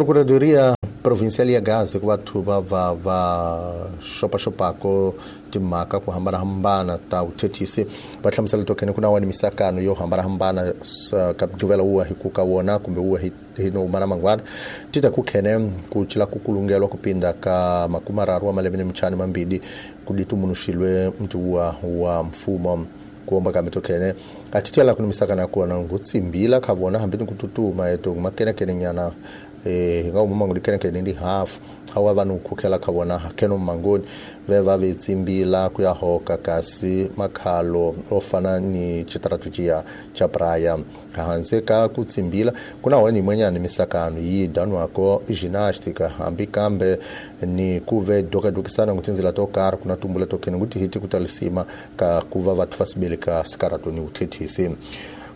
Procuradoria Provincial ya Gaza ku vathu va va va xopaxopako timhaka ku hambanahambana ta vuthethisi va hlamusela tokhene ku na wani misakano yo hambanahambana ka mugqivela wuwa hi ku ka wona kumbe wuwa hi no mana mangwana ti ta ku khene ku cila ku kulungelwa ku pinda ka makumarharu wa malembe ni mintlhanu mambili ku ditumunuxilwe mutiwa wa mfumo kuomba ka mitokhene a ti tiyela ku ni misakano ya kona ngutsimbila kha vona hambi ni ku tutuma eto makenekene nyana hi nga huma mangoni kenekene ndi hafu awa vanhu khukhela kha vona kheno mangoni ve va ve tsimbila ku ya hoka kasi makhalo o fana ni xitratujiya xa Praia hanze ka ku tsimbila ku na wani yin'wanyana misakano yi danwako ginástica hambi kambe ni ku ve dokadokisana ngu tindzela to karhi ku na tumbula to khene ngu tihiti ku talisima ka ku va vathu va sibele ka sikarato ni vuthethisi.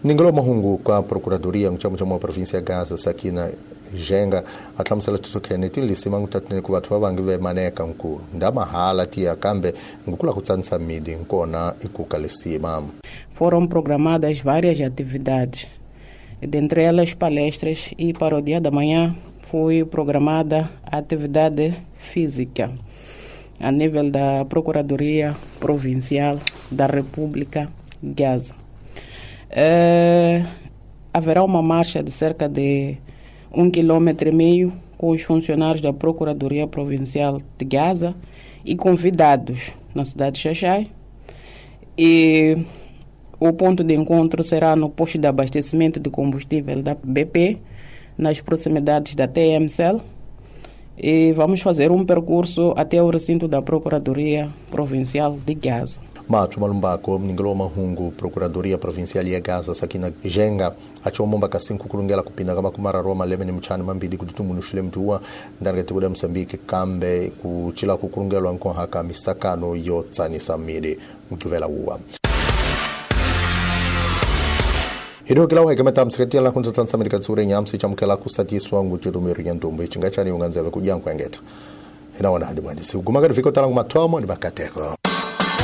Ningelo mahungu ka Procuradoria muchamuchamu wa província ya Gaza Sakina Jenga a hlamusela titokhene tilisima ngutatine ku vathu va vangi ve maneka nku ndamahala tiya kambe ngukula ku tsanisa midi nkona ikuka lisima. Foram programadas várias atividades, dentre elas palestras, e para o dia da manhã foi programada a atividade física a nível da Procuradoria Provincial da República Gaza. Haverá uma marcha de cerca de 1,5 km com os funcionários da Procuradoria Provincial de Gaza e convidados na cidade de Xaxai. E o ponto de encontro será no posto de abastecimento de combustível da BP, nas proximidades da TMCL. E vamos fazer um percurso até o recinto da Procuradoria Provincial de Gaza. Mato Malumbako, mningelo wa mahungu, Procuradoria Provincial ya Gaza, Sakina Jenga, achomomba kasi kulungela kupinda kama kumara Roma leme ni mchana mambili kututumunushile mtuwa ndani katika ya Msambiki kambe kuchila kukulungelwa nkohaka misakano yo tsanisa midi mtuvela uwa. Hilo kila wahe kama tamsikati la kunza tsansa Amerika tsure nyamsi chamkela kusatiswa nguchirumiru nyantumbu ichingachani unganzeve kujangu engeta. Hina wana hadi mwandisi. Gumagari viko talangu matomo ni bakateko.